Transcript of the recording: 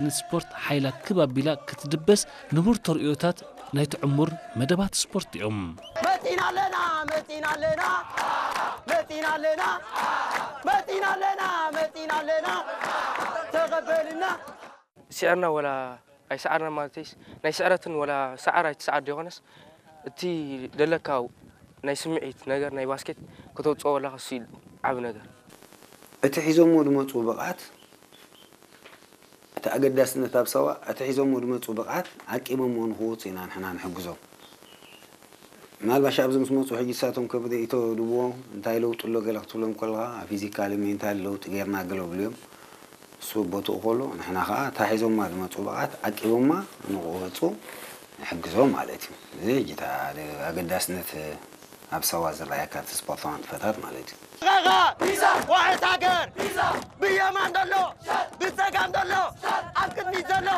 ንስፖርት ሓይላ ክብ ኣቢላ ክትድበስ ንቡር ተርእዮታት ናይቲ ዕሙር መደባት ስፖርት እዮም። መጺና ኣለና መጺና ኣለና መጺና ኣለና መጺና ኣለና መጺና ኣለና ተቐበልና። ስዕርና ወላ ኣይሰዓርና ማለተይስ ናይ ስዕረትን ወላ ሰዓር ኣይትሰዓር ዲኾነስ እቲ ደለካ ናይ ስምዒት ነገር ናይ ባስኬት ከተውፅኦ ወላ ከሱ ኢሉ ዓብ ነገር እቲ ሒዞሞ ዝመፁ ብቕዓት እቲ ኣገዳስነት ኣብ ሰዋ እቲ ሒዞሞ ዝመፁ ብቕዓት ዓቂቦሞ ንክወፁ ኢና ንሕና ንሕግዞም። ምናልባሽ ኣብዚ ምስ መፁ ሕጂ ሳቶም ከብደ ኢቶ ድብዎ እንታይ ለውጢ ኣሎ ገለ ክትብሎም ከለካ ፊዚካሊ ሜንታሊ ለውጢ ገይርና ገለ ብልዮም እሱ ቦትኡ ከሎ ንሕና ከዓ እታ ሒዞማ ዝመፁ ብቕዓት ዓቂቦማ ንክወፁ ንሕግዞም ማለት እዩ። እዚ ሕጂ ኣገዳስነት ኣብ ሰዋ ዝረኣየካ እቲ ስፖርታዊ ንጥፈታት ማለት እዩ። ዋሕስ ሃገር ብየማን ዘሎ ብፀጋም ዘሎ ኣብ ቅድሚት ዘሎ